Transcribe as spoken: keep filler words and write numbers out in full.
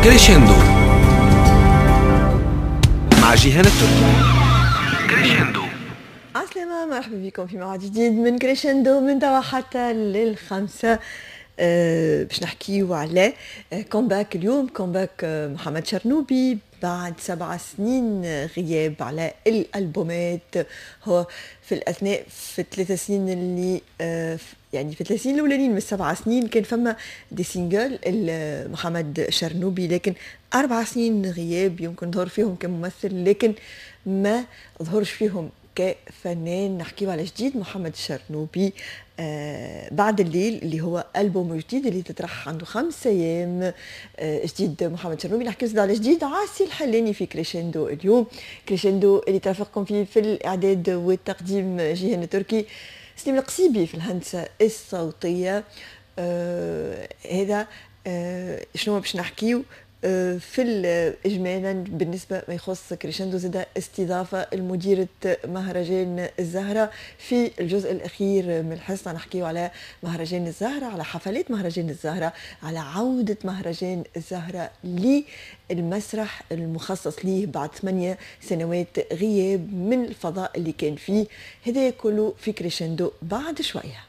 كريشندو مع جيهان التركي. كريشندو. عسلامة، مرحبا بكم في موعد جديد من كريشندو من توا حتى للخمسة. أه باش نحكيو على comeback اليوم، comeback آه، محمد شرنوبي بعد سبع سنين غياب على الالبومات. هو في الاثناء في الثلاث سنين اللي آه، يعني في الثلاث سنين الاولانيين من السبع سنين كان فما des singles محمد شرنوبي، لكن اربع سنين غياب يمكن ظهر فيهم كممثل لكن ما ظهرش فيهم كفنان. نحكيو على جديد محمد الشرنوبي آه بعد الليل اللي هو ألبوم جديد اللي تطرح عنده خمس أيام. آه جديد محمد الشرنوبي، نحكيو زاد على جديد عاصي الحلاني في كريشندو اليوم. كريشندو اللي ترافقكم فيه في الإعداد والتقديم جيهان التركي، سليم القصيبي في الهندسة الصوتية. آه هذا آه شنو باش نحكيو آه، في اجمالا بالنسبة ما يخص كريشندو. زاد استضافة المديرة مهرجان الزهرة في الجزء الاخير من الحصه، نحكيو على مهرجان الزهره، على حفلات مهرجان الزهره، على عوده مهرجان الزهرة للمسرح المخصص ليه بعد ثمانية سنوات غياب من الفضاء اللي كان فيه. هذا كله في كريشندو بعد شويه.